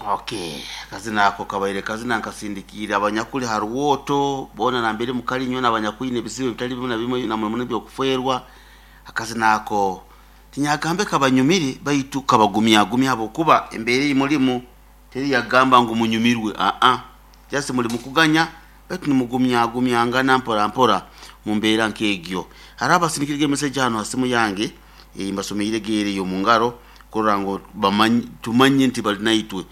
Okay, akazina ako kabaire kazina nkasindikiire abanyakuri ha rwoto boona nambere mukali nyowe n'abanyakwine ebizibu ebitali bimwe na bimwe na muno muno eby'okufeerwa. Akazina ako tinyagambe kabanyumire baitu kabagumyagumya habwokuba embeera ei murimu teri yakugamba ngu munyumirwe aa just muri mukuganya baitu nimugumyagumyangana mpora mpora mu mbeera nk'egyo. Hariho abasindikire message hanu ha simu yange ei mbasomeire eri omu ngaro kurora ngu bamanye tumanye nti bari naitwe.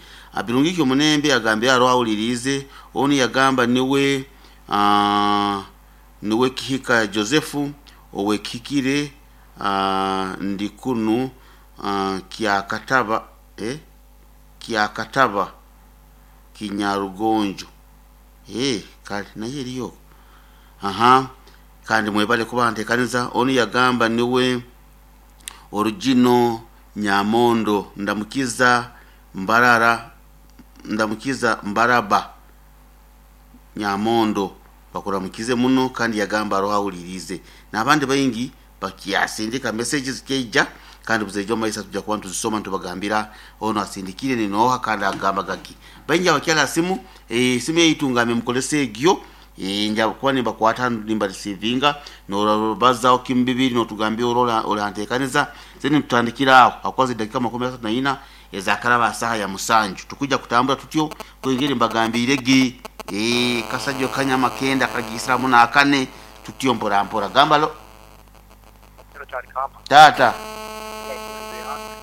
Birungi ki Omunembe agambire hariho ahuririize, onu yagamba niwe niwe Kihika Joseph ow'ekihikire ndi kunu Kyakataba eh Kyakataba Kinyarugonjo eh kare nayo eriyo okwo aha kandi mwebare kuba ntekaniza. Onu yagamba niwe Orugino Nyamondo Ndamukiza Mbarara Ndamukiza Mbaraba Nyamondo bakuramukize muno kandi yagamba hariho ahuririize. N'abandi baingi bakyasindika message zikyaija kandi buzaija omu maiso tujya kuba nituzisoma nitubagambira onu asindikire ni nooha kandi agamba gaki. Baingi abakyari aha simu, esimu yaitu ngambe mukorese egyo, nja kuba nimbakwata nimbarisiivinga noobazaho kimu bibiri nootugambira ori ori aha nteekaniza then nitutandikira aho ahakuba ziri dakiika makumi asatu na ina ezaakaraba aha saaha ya musanju. Tikwija kutambura tutyo kwengeri mbagambiire ge kasajwa kanyama kenda kagiisiramu n'akane tutyo mpora mpora. Gamba lo. Taata,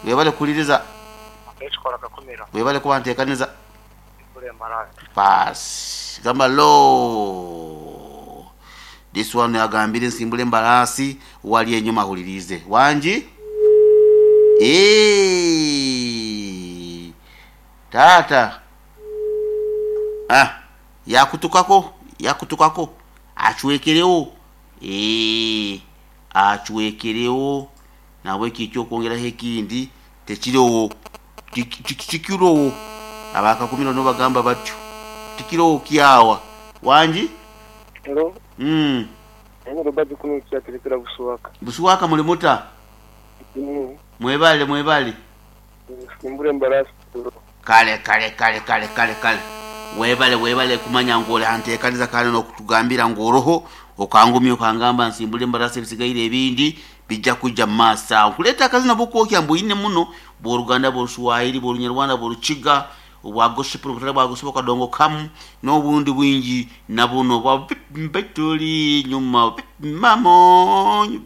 webale kuhuririza. Webale kuba nteekaniza. Baasi gamba lo. This one agambire nsimbure embaraasi owari enyima ahuririize. Wangi? Eeh! Taata. Ah, yakutukako, yakutukako. Acwekereho. Eeh, acwekereho. Nahabweki eky'okwongeraho ekindi tekiroho. Tikiroho. Aba Kakumiro nibo bagamba batyo. Tikiroho kyawa. Wangi? Hello. Mm. Nanye Robert kunu Kyaterekera Busuwaka. Busuwaka muli muta? Mm. Mwebale mwebale. Nsimbura embarasi bro. Kale kale kale kale kale kale webale webale kumanya ngu ori hantekaniza kandi nokutugambira ngu oroho okangumya okangamba nsimbure embarasi ebisigaire ebindi bija kwija mumaaso aho. Nkureeta akazina bwokwokya mbwine muno bw'oruganda bw'oruswahili bw'orunyarwanda bw'orukiga obwa gospel obutari bwa gospel akadongo kamu n'obundi bwingi na buno bwa turi nyuma mamonyo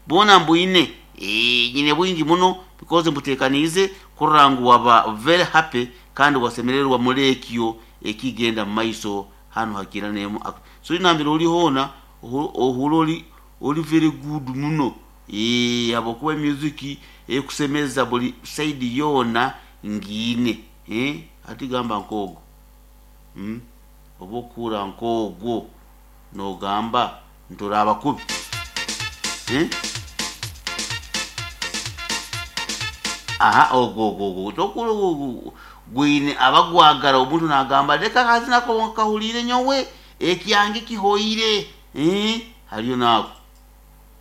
bwona mbwine. Nyine bwingi muno because mbuteekaniize kurora ngu waba very happy kandi wasemererwa muri ekyo ekigenda mu maiso hanu ha Kiira Nemu. So nambere ori hoona ohuure ori ori very good muno ahabw'okuba music erikusemeza buri side yoona ngiine. Hati gamba nk'ogwo, oba okuhurra nk'ogwo noogamba nti oraaba kubi? Aha ogwo ogwo ogwo tokuhurra ogwo gwine abagwagara omuntu naagamba reka akazina ako nkahuriire nyowe, ekyange kihoire, hariyo naako.